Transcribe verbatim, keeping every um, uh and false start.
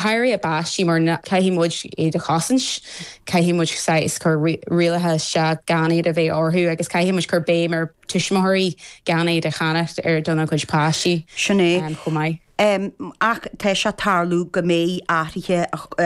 Háirithe a bpáistí mar caithfidh muid iad a chosaint, caithfidh muid saghas cur rialacha isteach gan iad a bheith orthu agus caithfidh muid cur béim ar tuismitheoirí gan iad a cheannach ar dona chuid páistí Sin é. chomh maith. Um, ach tá sé tarlú go mbeidh athruithe